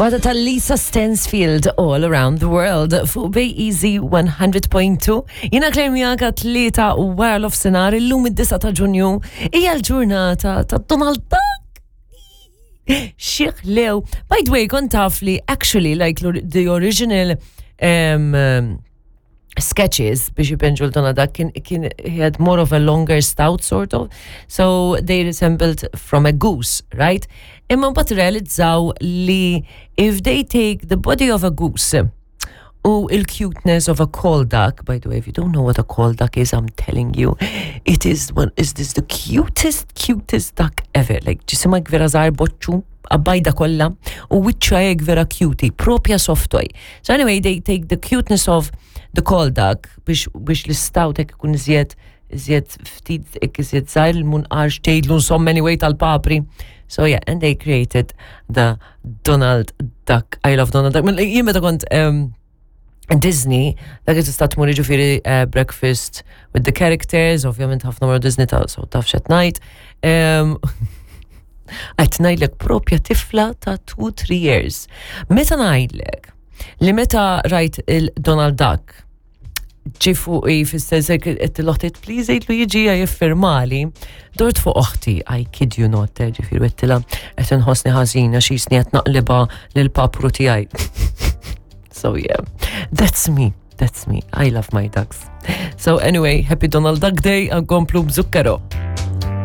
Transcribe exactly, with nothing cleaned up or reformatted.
Wada ta' Lisa Stansfield All Around the World fuq Bay Easy one hundred point two. Jiena Claire miegħek tlieta u wara nofsinhar, illum id-disgħa ta' Ġunju hija l-ġurnata ta' Donald Duck. Xieħ lew. By the way, kont taf li actually, like, the original um, um, sketches biex jpinġu l-Donald Duck kien, kien he had more of a longer snout sort of, so they resembled from a goose, right? Imma mbagħad realizzaw li if they take the body of a goose u il-cuteness of a call duck. By the way, if you don't know what a call duck is, I'm telling you, it is one is this the cutest, cutest duck ever. Like, ġisimha vera żgħar, boċċu, bajda kollha, u wiċċha hekk vera cutie, propja soft toy. So anyway, they take the cuteness of the call duck biex, biex l-snout hekk ikun iżjed iżjed ftit hekk iżjed żgħir, il-munqar xtejtlu insomma anyway tal-papri. So yeah, and they created the Donald Duck. I love Donald Duck. Jien meta kont um, Disney, dak tista' tmur ġifieri uh, breakfast with the characters, ovvjament ħafna marru Disney ta' so taf x'qed ngħid. Um, Qed ngħidlek propja tifla ta' two three years. Meta ngħidlek li meta rajt il-Donald Duck ġi fuqi fis-sens qed l-oħti, "Please għidlu jiġi jiffirmali." Dort fuq oħti, I kid you not, eh, ġifieri għedtilha qed inħossni ħażina x'jisni qed naqliba lill-papru tiegħi. So yeah, that's me. That's me. I love my ducks. So anyway, happy Donald Duck Day, nkomplu b'Zucchero.